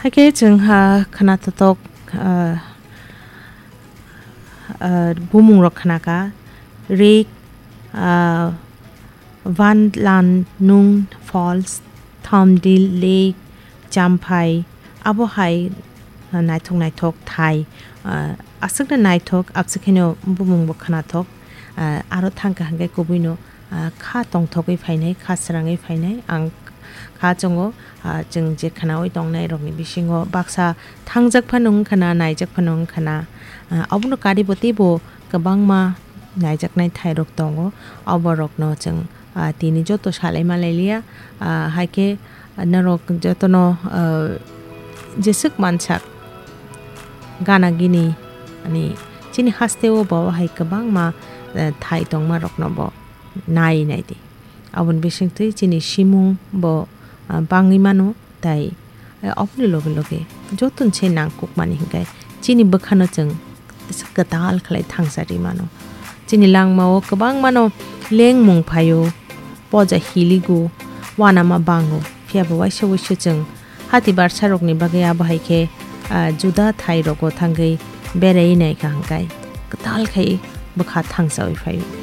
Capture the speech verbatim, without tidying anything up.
Hakhe chwng ha khna totok, ah, ah, bumung rok khna kha, rik, ah, Vanlan Nung Falls, Thomdil Lake, Champhai, abo hai, ah, naithok naithok thai, ah, aswkno naithok, abse kheno bumung bo khnathok, ah, aro thangkha hwnkhe kubuino, ah, kha tongthogwi phainai, kha srangwi phainai, ang kha chongo, ah, chwng je khnaui tongnai rokni bisingo baksa thangjak phano wngkha na, naijak phano wngkha na, ah, obono karibo teibo kwbangma naijaknai thairok tongo, oborokno chwng, ah, tini joto salai malai liya, ah, haikhe norok jotono, ah, jeswk mansak gana gini, ani chini hasteo bo hai kwbangma, eh, thai tongma rokno bo nai nai di. Aboni bisingtwi chini simung bo, ah, bangwi mano, tai, eh, oboni loge loge joto se nangkukmani hinkhe chini bwkhano chwng kwtal khlai thangsa ri mano. Chini langmao kwbangmano lengmung phaio, poja hiligo, uanama bango, phiya bo waisa waisa chwng hati barsarokni bagwi abo hai khe, ah, juda thairogo thangwi berai naikha hwnkhe kwtal khai bwkha thangsaui phaio.